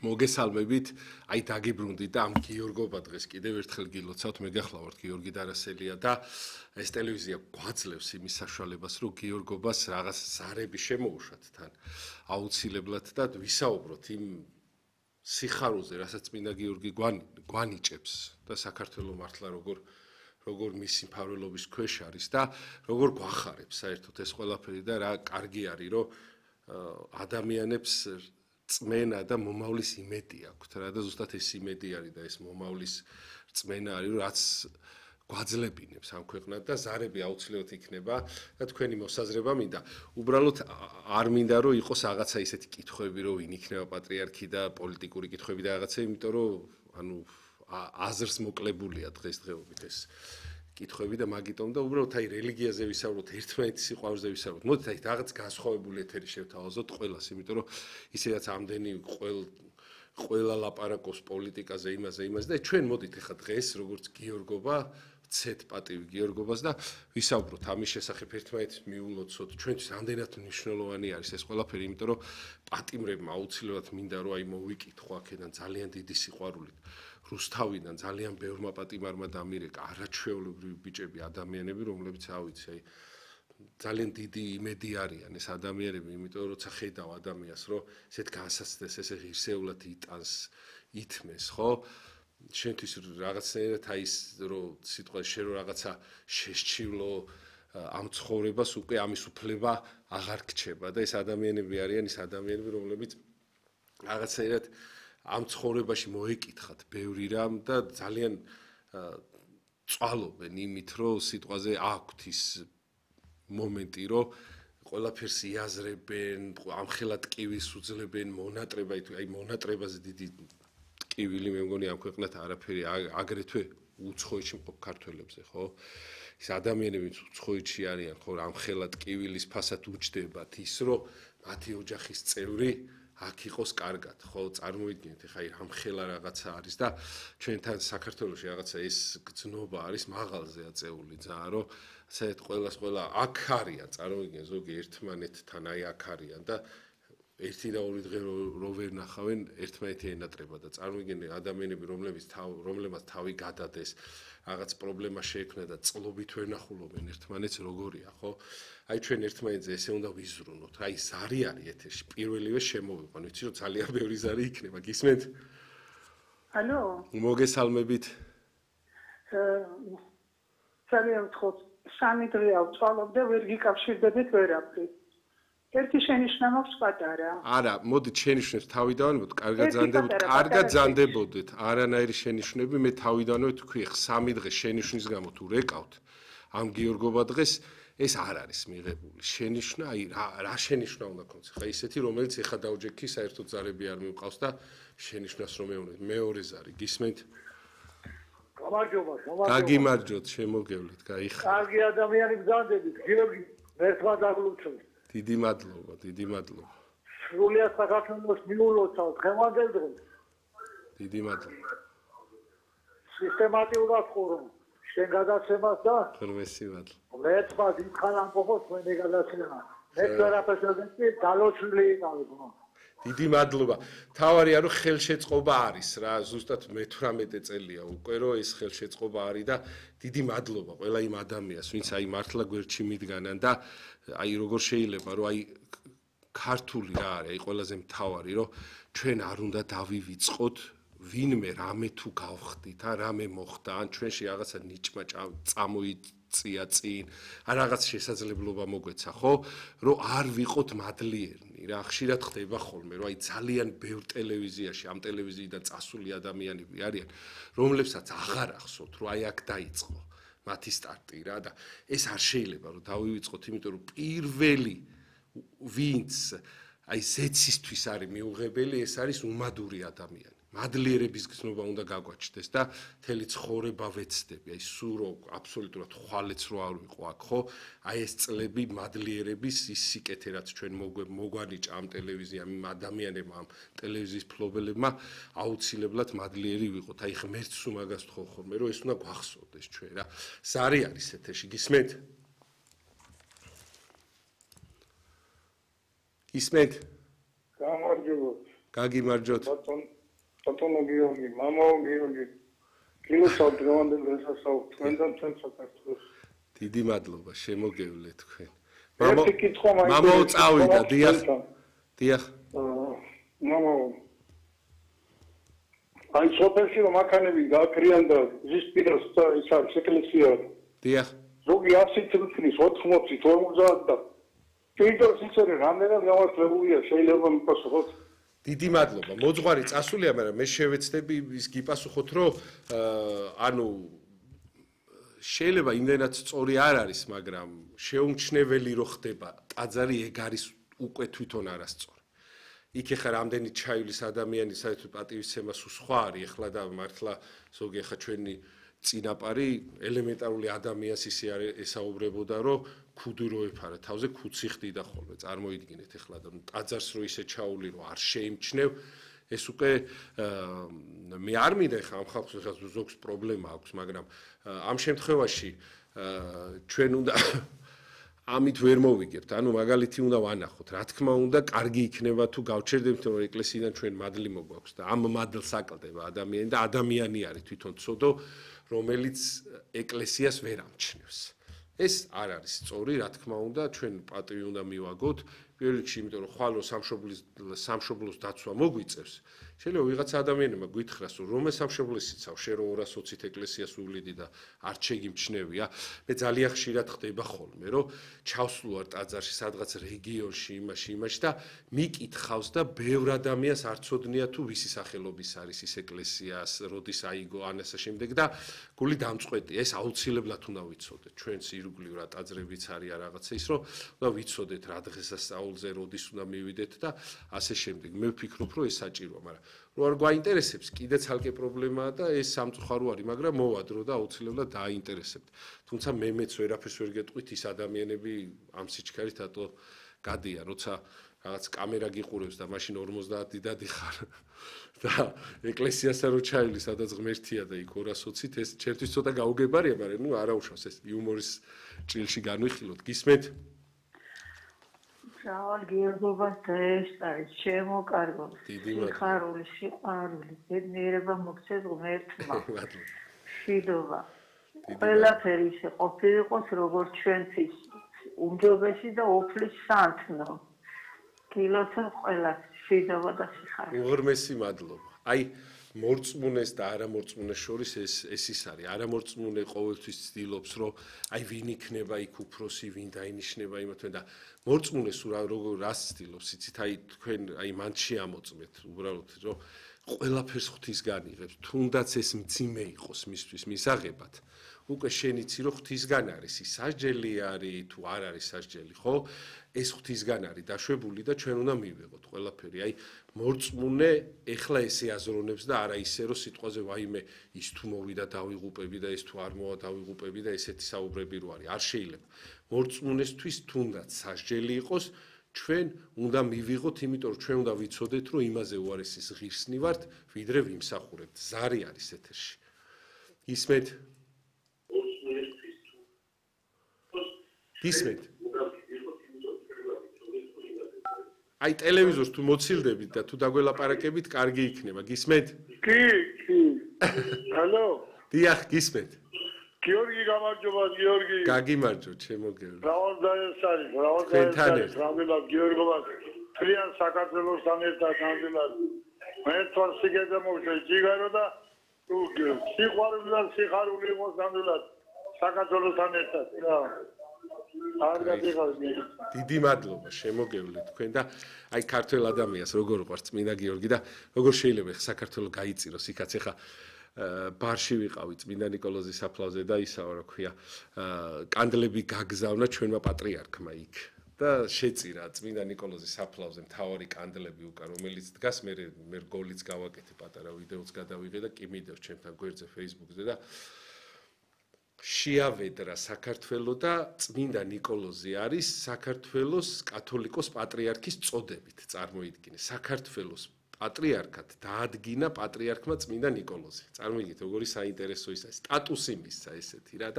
მოგესალმებით, აი დაგიბრუნდით და ამ გიორგობა დღეს კიდევ ერთხელ გილოცავთ, მე გახლავართ გიორგი დარასელია და ეს ტელევიზია გვაძლევს იმის საშუალებას, რომ გიორგობას რაღაც ზარები შემოუშვათ თან აუცილებლად და ვისაუბროთ იმ სიხარულზე, რასაც წმინდა გიორგი გვანიჭებს და საქართველოს მართლა როგორ მისი მფარველობის ქვეშ არის და როგორ გვახარებს საერთოდ ეს ყველაფერი და რა კარგი არის, რომ ადამიანებს წმენა და მომავლის იმედი აქვთ რა და ზუსტად ეს იმედი არის და ეს მომავლის წმენა არის რომ რაც გვაძლებინებს ამ ქვეყნად და ზარები აუცილებლად იქნება და თქვენი მოსაზრება მინდა უბრალოდ არ მინდა რომ იყოს რაღაცა ისეთი კითხვები რომ ვინ იქნება პატრიარქი და პოლიტიკური კითხვები და რაღაცა იმიტომ რომ ანუ აზრს მოკლებულია დღესდღეობით ეს კითხვები და მაგიტომ და უბრალოდ აი რელიგიაზე ვისაუბროთ, ერთმანეთის სიყვარულზე ვისაუბროთ. მოდით აი რაღაც განსხვავებული ეთერი შევთავაზოთ ყველას, იმიტომ რომ ისედაც ამდენი ყველა ლაპარაკობს პოლიტიკაზე, იმაზე და ჩვენ მოდით ახლა დღეს როგორც გიორგობა, ვცეთ პატივი გიორგობას და ვისაუბროთ ამის შესახებ ერთმანეთს მიულოცოთ. ჩვენთვის ამდენად მნიშვნელოვანი არის ეს ყველაფერი, იმიტომ რომ პატიმრებმა აუცილებლად მინდა რომ აი მოვიკითხო აქედან ძალიან დიდი სიყვარულით. რუსთავიდან ძალიან ბევრმა პატიმარმა დამირეკა არაჩვეულებრივი ბიჭები, ადამიანები, რომლებიც ავიცი, აი ძალიან დიდი იმედი არიან ეს ადამიანები, იმიტომ რომ როცა ხედავ ადამიანს, რომ ესეთ განსაცდელს ესე ღირსეულად იტანს, ითმეს, ხო? შენთვის რაღაცნაირად აი ის რომ სიტყვაში შენ რომ რაღაცა შესჩივლო ამ ცხოვრებას უკვე ამის უფლება აღარ გრჩება და ეს ადამიანები არიან ის ადამიანები, რომლებიც რაღაცნაირად ამ ცხოვრებაში მოეკითხათ ბევრი რამ და ძალიან წვალობენ იმით, რომ სიტყვაზე აქვთ ის მომენტი, რომ ყველაფერს იაზრებენ, ამხელად ტკივილს უძლებენ, აი მონატრებაზე დიდი ტკივილი მე მგონი ამ ქვეყნად არაფერი აგრეთვე უცხოეთში მყოფ ქართველებზე, ხო? ის ადამიანები უცხოეთში არიან, ხო, ამხელად ტკივილის ფასად უჯდებათ ის, რომ მათი ოჯახის წევრი აქ იყოს კარგად, ხო, წარმოიდგინეთ, ეხა ამხელა რაღაცა არის და ჩვენთან საქართველოში რაღაცა ეს გზნობა არის მაღალზე აწეული ძალიან, რომ საერთოდ ყველა აქ არიან, წარმოიდგინეთ, ზოგი ერთმანეთთან აი აქ არიან და ერთი და ორი დღე რო ვერ ნახავენ, ერთმანეთი ენატრება და წარმოიდგინეთ ადამიანები, რომლებმაც თავი გადადეს, რაღაც პრობლემა შეექმნა და წლობით ვერ ნახულობენ ერთმანეთს, როგორია, ხო? აი ჩვენ ერთმანეთზე ესე უნდა ვიზრუნოთ. აი ზარი არის ეთერში. პირველივე შემოვიყვან, ვიცი რომ ძალიან ბევრი ზარი იქნება. გისმენთ? ალო. მოგესალმებით. ძალიან ხოთ. სამი დღე ავწვალობ და ვერ გიკავშირდებით ვერაფრით. ერთი შენიშვნა მაქვს პატარა. არა, მოდით შენიშვნებს თავიდანვე, კარგად ზანდებოდეთ. არანაირი შენიშვნები მე თავიდანვე თქვი, სამი დღე შენიშვნის გამო თუ რეკავთ ამ გიორგობა დღეს ეს არ არის მიღებული. შენიშვნა, აი რა შენიშვნა უნდა ქონდეს? ხა ისეთი, რომელიც ეხა დავჯექი, საერთოდ ზარები არ მივყავს და შენიშვნას რომ მეუნეთ. მეორე ზარი, გისმენთ? გამარჯობა. გაგიმარჯოთ, შემოგევლით, გაიხარეთ. კარგი ადამიანი გზანდებით, გიორგი, მერცხმა დაგლუჩოთ. დიდი მადლობა. სრულიად საქართველოს მიულოცავ დღევანდელ დღეს. დიდი მადლობა. სისტემატიურად ხურო. შენ გადაცემას და ღრმესი მადლობა. მეცმა დიდხან ამბობს მე გადაცემა. მე ვერაფერს ვეცი, დალოჩული იყავ. დიდი მადლობა. თავარია რომ ხელშეწყობა არის რა, ზუსტად მე-18 წელია უკვე რომ ეს ხელშეწყობა არის და დიდი მადლობა ყველა იმ ადამიანს, ვინც აი მართლა გვერდში მიდგანან და აი როგორ შეიძლება რომ აი ქართული რა არის, აი ყველაზე მთავარი რომ ჩვენ არ უნდა დავივიწყოთ ვინმე რამე თუ გავხდით, რამე მოხდა, ან ჩვენში რაღაცა ნიჭმა წამოიწია წინ, ან რაღაც შესაძლებლობა მოგვეცა, ხო? რომ არ ვიყოთ მადლიერნი, რა, ხშირად ხდება ხოლმე, რომ აი ძალიან ბევრ ტელევიზიაში, ამ ტელევიზიიდან წასული ადამიანები არიან, რომლებსაც აღარ ახსოვთ, რომ აი აქ დაიწყო მათი სტარტი რა და ეს არ შეიძლება რომ დავივიწყოთ, იმიტომ რომ პირველი ვინც აი ზეცისთვის არის მიუღებელი, ეს არის უმადური ადამიანი. მადლიერების გზნობა უნდა გაგვაჩნდეს და მთელი ცხოვრება ვეცდები, აი სულ რო აბსოლუტურად ხვალეც რო არ ვიყო აქ, ხო? აი ეს წლები მადლიერების ის სიკეთე რაც ჩვენ მოგვანიჭა ამ ტელევიზიამ, იმ ადამიანებმა, ამ ტელევიზიის ფლობელებმა აუცილებლად მადლიერი ვიყოთ. აი ღმერთს უმაგას თხოვ ხოლმე, რომ ეს უნდა გვახსოვდეს ჩვენ რა. ზარი არის ეთერში, გისმენთ? გისმენთ? გამარჯობა. გაგიმარჯოთ. ბატონო გიორგი, მამაო გიორგი. გილოცავ დღევანდელ დღესასწაულს თქვენთან ჩვენ საქართველოს. დიდი მადლობა, შემოგევლე თქვენ. ერთი კითხვა მაინტერესებს. მამაო წავიდა, დიახ. დიახ. მამაო. აი სოფელში რომ აქანები გააკრიან და ზისპირას ის არის ეკლესია. დიახ. ზოგი 100 წუთის 80 50 და პირდაპირ ისე რამდენად გამართლებულია შეიძლება მიპასუხოთ. დიდი მადლობა. მოძღვარი წასულია, მაგრამ მე შევეცდები ის გიპასუხოთ, რომ ანუ შეიძლება იმდენად სწორი არ არის, მაგრამ შეუმჩნეველი რო ხდება, ტაძარი ეგ არის უკვე თვითონ არასწორი. იქ ეხლა რამდენი ჩაივლის ადამიანი საერთოდ პატივისცემა სულ სხვა არის, ეხლა და მართლა ზოგი ეხლა ჩვენი წინაპარი ელემენტარული ადამიანს ისე არ ესაუბრებოდა, რომ ქუდი რო ეფარა თავზე ქუცი ხდიდა ხოლმე. წარმოიდგინეთ ეხლა და ტაძარს რო ისე ჩაული რომ არ შეიმჩნევ, ეს უკვე მე არ მინდა ეხლა ამ ხალხს ზოგს პრობლემა აქვს, მაგრამ ამ შემთხვევაში ჩვენ უნდა ამით ვერ მოვიგებთ. ანუ მაგალითი უნდა ვანახოთ, რა თქმა უნდა, კარგი იქნება თუ გავჩერდებთ, რომ ეკლესიიდან ჩვენ მადლი მოგვაქვს და ამ მადლს აკლდება ადამიანი და ადამიანი არის თვითონ ცოდო, რომელიც ეკლესიას ვერ ამჩნევს. ეს არ არის სწორი, რა თქმა უნდა, ჩვენ პატივი უნდა მივაგოთ. პირველ რიგში, იმიტომ რომ ხვალ სამშობლოს დაცვა მოგვიწევს. შეიძლება ვიღაც ადამიანებმა გითხრას, რომ რომელ სამშობლოს იცავ, შენ რომ 220-ით ეკლესიას უვლიდი და არ შეგიმჩნევია. მე ძალიან ხშირად ხდება ხოლმე, რომ ჩავსვლوار ტაძარში, სადღაც რეგიონში, იმაში და მიკითხავს და ბევრ ადამიანს არ ცოდნია თუ ვისი სახელობის არის ის ეკლესიას, როდის აიგო ან ასე შემდეგ და გული დამწყვეტია. ეს აუცილებლად უნდა ვიცოდეთ. ჩვენს ირგვლივ რა ტაძრებიც არის რაღაცა ის, რომ უნდა ვიცოდეთ რა დღესასწაულზე როდის უნდა მივიდეთ და ასე შემდეგ. მე ვფიქრობ, რომ ეს საჭიროა, მაგრამ რო არ გვაინტერესებს, კიდე ცალკე პრობლემაა და ეს სამწუხარო არის, მაგრამ მოვადრო და აუცილებლად დააინტერესებთ. თუმცა მეც ვერაფერს ვერ გეტყვით, ის ადამიანები ამ სიჩქარით ატო გადიან, როცა რაღაც კამერა გიყურებს და მაშინ 50 დიდადი ხარ და ეკლესიასთან რო ჩაივლის, სადაც ღმერთია და იქ 220-ით, ეს ჩემთვის ცოტა გაუგებარია, მაგრამ ნუ არა უშავს, ეს იუმორის ჭილში განვიხილოთ. გისმენთ? მრავალ გიორგობას დაესწარეთ, ჩემო კარგო, სიხარული, სიყვარული, ბედნიერება მოგცეს ღმერთმა, მშვიდობა. ყველაფერი ისე ყოფილიყოს, როგორც ჩვენთვის უმჯობესი და უფლის სანთნო. გილოცავ ყველას, მშვიდობა და სიხარული. უღრმესი მადლობა. აი მორწმუნეს და არამორწმუნეს შორის ეს ის არის. არამორწმუნე ყოველთვის ცდილობს, რომ აი ვინ იქნება იქ უფროსი, ვინ დაინიშნება იმათვე და მორწმუნეს როგორ რას ცდილობს, იცით, აი თქვენ აი მან შეამოწმეთ, უბრალოდ რომ ყველაფერს ღვთისგან იღებს, თუნდაც ეს მძიმე იყოს მისთვის მისაღებად. უკვე შენ იცი, რომ ღვთისგან არის, ის სასჯელი არის თუ არ არის სასჯელი, ხო? ეს ღვთისგან არის დაშვებული და ჩვენ უნდა მივიღოთ ყველაფერი. აი მორწმუნე ეხლა ესე აზროვნებს და არა ისე რომ სიტყვაზე ვაიმე ის თუ მოვიდა დავიღუპები და ეს თუ არ მოვა დავიღუპები და ესეთი საუბრები რო არის. არ შეიძლება. მორწმუნესთვის თუნდაც სასჯელი იყოს, ჩვენ უნდა მივიღოთ, იმიტომ რომ ჩვენ უნდა ვიცოდეთ, რომ იმაზე უარესის ღირსნი ვართ, ვიდრე ვიმსახურებთ. ზარი არის ეთერში. ისმენთ? ისმენთ? აი ტელევიზორს თუ მოცილდებით და თუ დაგველაპარაკებით, კარგი იქნება. გისმენთ? კი. ალო. დიახ, გისმენთ. გიორგი გამარჯობა, გიორგი. გაგიმარჯო, ჩემო გიორგი. რავალდაესარი, რამდენად გიორგობას თლიან საქართველოსთან ერთად ნამდვილად. მე თვითონ სიგეზე მოვშე ჯიგარო და თუ სიყვარული და სიხარული იყოს ნამდვილად საქართველოსთან ერთად. რა. დიდი მადლობა, შემოგევლე თქვენ და აი ქართველ ადამიანს როგორ უყვარს წმინდა გიორგი და როგორ შეიძლება საქართველოს გაიწიროს იქაც ეხა ბარში ვიყავი წმინდა ნიკოლოზის საფლავზე და ისაა რა ქვია კანდლები გაგზავნა ჩვენმა პატრიარქმა იქ და შეწირა წმინდა ნიკოლოზის საფლავზე მთავარი კანდლები უკან რომელიც დგას მე რგოლიც გავაკეთე პატარა ვიდეოც გადავიღე და კი მიდევ ჩემთან გვერდზე Facebook-ზე და შეავედრა საქართველოს და წმინდა ნიკოლოზი არის საქართველოს კათოლიკოს პატრიარქის წოდებით წარმოიდგინე საქართველოს პატრიარქად დაადგინა პატრიარქმა წმინდა ნიკოლოზი წარმოიდგინეთ როგორი საინტერესო ის არის სტატუსი მისცა ესეთი რა და